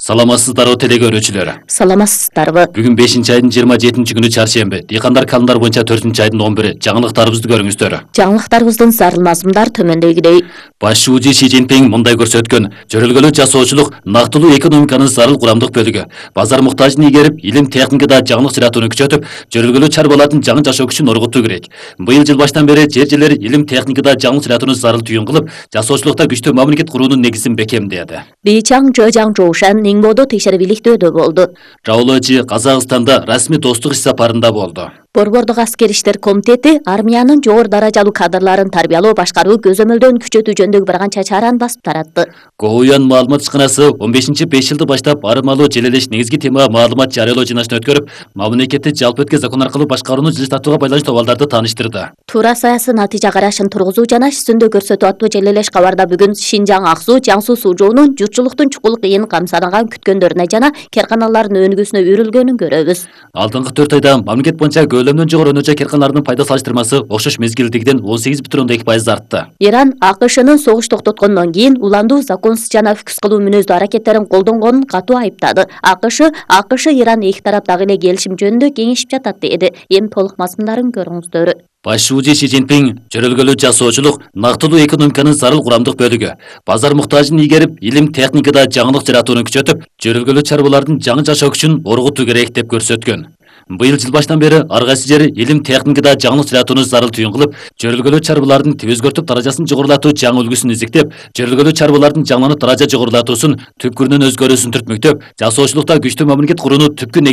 Саламатсыздарбы теле көрүүчүлөр. Саламатсыздарбы. Бүгүн 5-айдын 27-күнү чаршемби. Дыйкандар календар боюнча 4-айдын 11-и. Жаңылыктарыбызды көрүңүздөр. Жаңылыктарыбыздын зарыл мазмундар төмөндөгүдөй. Баш шүүжү Си Цзиньпин мындай көрсөткөн: жөрөлгөлүү жасоочулук нактылуу экономиканын зарыл курамдык бөлүгү. Базар муктажын ийгерип, илим техникада жаңылык жаратууну күчөтүп, жөрөлгөлүү чарбалардын жаңы жашоо күчүн оргутуу керек. Быйыл жыл баштан бери жер илим техникада жаңылык жаратууну зарыл түйүн кылып, жасоочулукта күчтүү мамлекет куруунун негизин бекемдеди. Бейчаң Жожаң Жоушан Ниңбодо текшерибиликтөөдө болду. Раулачы Казакстанда расмий достук иш сапарында болду. Борбордук аскер иштер комитети армиянын жогору даражалуу кадрларын тарбиялоо, башкаруу, көзөмөлдөн күчөтүү жөнүндөгү бир канча чараны басып таратты. Гоуян маалымат ишканасы 15-5 жылды баштап арымалуу желелеш негизги тема маалымат жарыялоо жыйнашын өткөрүп, мамлекетти жалпы өткө закон аркылуу башкарууну жылыштатууга байланыштуу абалдарды тааныштырды. Туура саясий натыйжа карашын тургузуу жана үстүндө көрсөтүү аттуу желелеш кабарда бүгүн Шинжаң Аксу, Жаңсу Суужоонун журтчулуктун чукул кыйын камсанаган күткөндөрүнө жана керканалардын өнүгүүсүнө үйрүлгөнүн көрөбүз. Алдыңкы 4 айда мамлекет боюнча көлөмдөн жогору өнөчө керканалардын пайда салыштырмасы окшош мезгилдегиден 18,2% артты. Иран АКШнын согуш токтоткондон кийин уландуу, законсуз жана өкүс кылуу мүнөздүү аракеттерин колдонгонун катуу айыптады. АКШ Иран эки тарап дагы эле келишим жөнүндө кеңешип жатат деди. Эми толук мазмундарын көрүңүздөр. Баш шүүжү Си Цзиньпин жөрөлгөлүү жасоочулук нактылуу экономиканын зарыл курамдык бөлүгү. Базар муктажын ийгерип, илим техникада жаңылык жаратууну күчөтүп, жөрөлгөлүү чарбалардын жаңы жашоо күчүн оргутуу керек деп көрсөткөн. Быйыл жыл баштан бери ар кайсы жер илим техникада жаңылык жаратууну зарыл түйүн кылып, жөрөлгөлүү чарбалардын теп өзгөртүп даражасын жогорулатуу жаңы үлгүсүн изиктеп, жөрөлгөлүү чарбалардын жаңыланып даража жогорулатуусун түпкүрүнөн өзгөрүүсүн түртмөктөп, жасоочулукта күчтүү мамлекет курууну түпкү